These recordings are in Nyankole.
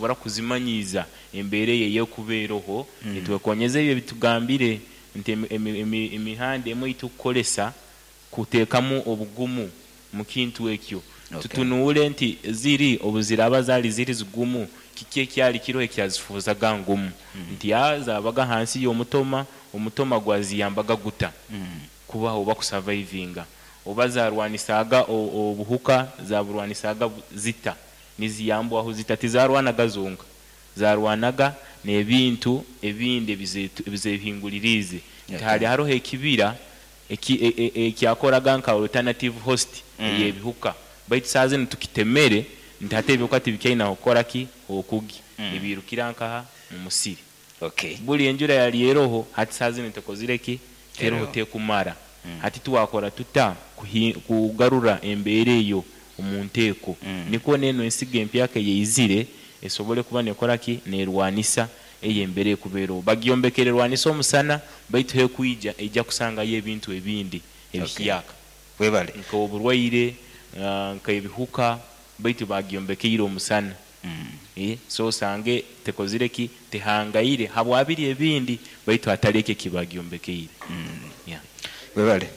Nitusobora kuzimanyiiza embeera eyo ey'ekuba eroho, nitwekonyeza ebi ebitugambire nti emihanda emwe ei tukukoresa kuteekamu obugumu mu kintu ekyo. Tutunuule nti ziri obu ziraaba zaali ziri zigumu, kiki ekyali kiroho ekyazifuuzaga ngumu? Nti aa zaabaga hansi y'omutoma, omutoma gwaziyambaga guta kubaho oba kusavaivinga? Oba zaarwanisaaga obuhuka, zaburwanisaaga zita? Niziyambwaho zita? Tizarwanaga zonka, zarwanaga n'ebintu ebindi ebizehinguliriize. Nti hali haroho ekibira ekyakoraga nka alternative host ey'ebihuka, baitu saaha zinu tukitemere nti hati ebihuka tibikyaine ah'okukora ki? H'okugya. Nibiirukira nkaha? Mu musiri. Buli enjura yali eroho, hati saaha zinu tekozire ki? Teroho, tekumara. Hati twakora tuta kugarura embeera eyo omu nteeko nikwo n'eno ensigo empyaka eyaizire esobole kuba neekora ki? Neerwanisa eyo embeera erikuba eroho. Bagyombekere erwanise omusana baitu h'ekwija eija kusangayo ebintu ebindi ebihyaka Webale. Nk'oburwaire, nk'ebihuka baitu bagyombekeire omusana. So osange tekozire ki? Tehangaire habwa biri ebindi baitu hatali eki eki bagyombekeire. Yeah. Webale.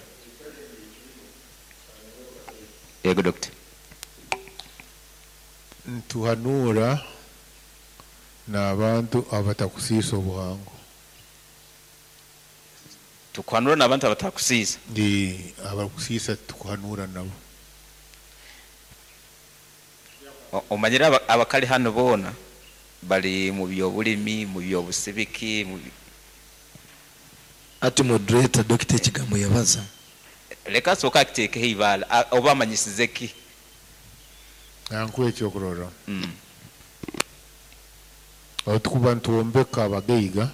Yego Dokita. Nituhanuura n'abantu abatakusiisa obuhango. Tukuhanuura n'abantu abatakusiisa. Abarikusiisa titukuhanuura nabo. Omanyire abakali hanu boona bari mu by'obulimi, mu by'obusibiki, mu. Hati moderator Dokita ekigambo yabaza. Leka asooke akiteekeho eibaale oba amanyisize ki? Nkuhe ekyokurorraho. Obu tukuba nitwombeka abagaiga,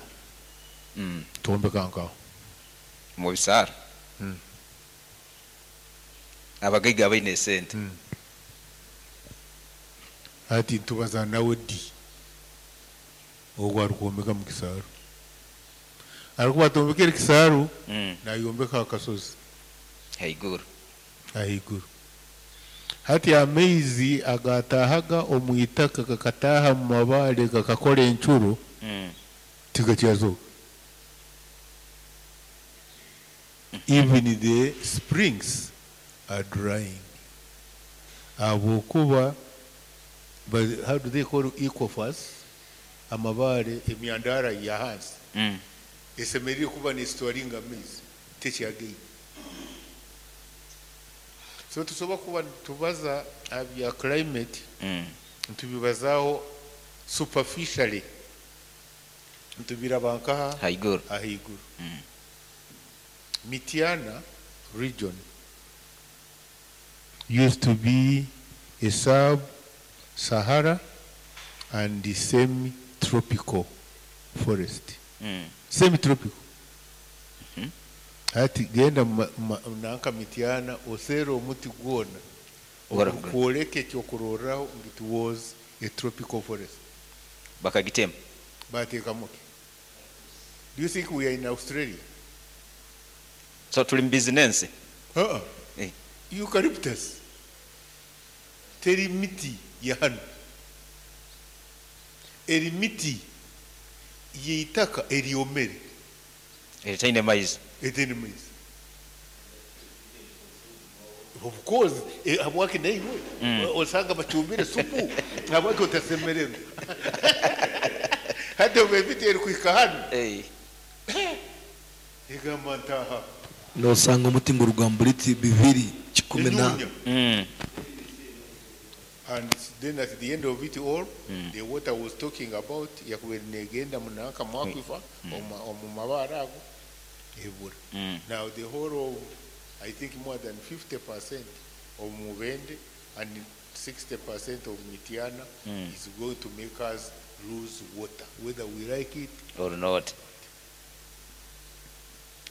twombeka nkaha? Omu bisaaro? Abagaiga abaine esente. Hati nitubaza nawe di? Ogu arikwombeka mu kisaaru. Arikuba atombekere kisaaru, nayombeka aha kasozi. Haiguru. Ahaiguru. Hati amaizi agaataahaga omu itaka gakataaha omu mabaare gakakora encuro, tigakyazooka. Even the springs are drying ahabw'okuba how do they call aquifers, amabaare, emyandaara y'ahansi esemeriire kuba nesitoringa amaizi tekyagaine. So tusobola kuba nitubaza aha bya climate nitubibazaaho superficially, nitubiraba nkaha? Haiguru. Ahaiguru. Mityana region used to be a sub Sahara and semi tropical forest. Semi tropical. Hati genda nanka Mityana oseere omuti gwona ogurikworeka ekyokurorraho ngu it was a tropical forest. Bakagitema. Bateekamu ki? Do you think we are in Australia? So turi mu bizinensi? Aa, eucalyptus teri miti ya hanu. Eri miti y'eitaka eryomere. Eritaine maizi. Eritaine maizi. Of course, habwaki naiwe osanga bacumbire supu, habwaki otasemererwa? Hati obu emiti erikuhika hanu, egamba ntaaha. Nosanga omuti nguruga mubiti bibiri kikumi na. Enyunya. And then at the end of it all, the water was talking about yakubaire negenda munanka mu aquifer, omu mabaare ago, ebura. Now the whole of I think more than 50 percent of Mubende and 60 percent of Mityana is going to make us lose water whether we like it or not.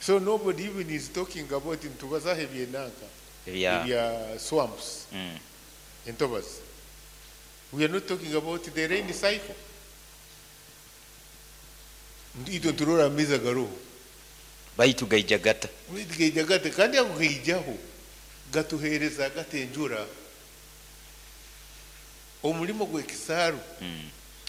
So nobody even is talking about nitubazaho ebyenanka ebya swamps entobazi. We are not talking about the rain cycle. Itwe niturora amaizi agaroho. Baitu gaija gata? Baitu gaija gata? Kandi ago gaijaho gatuheereza gata enjura? Omurimo gw'ekisaaru.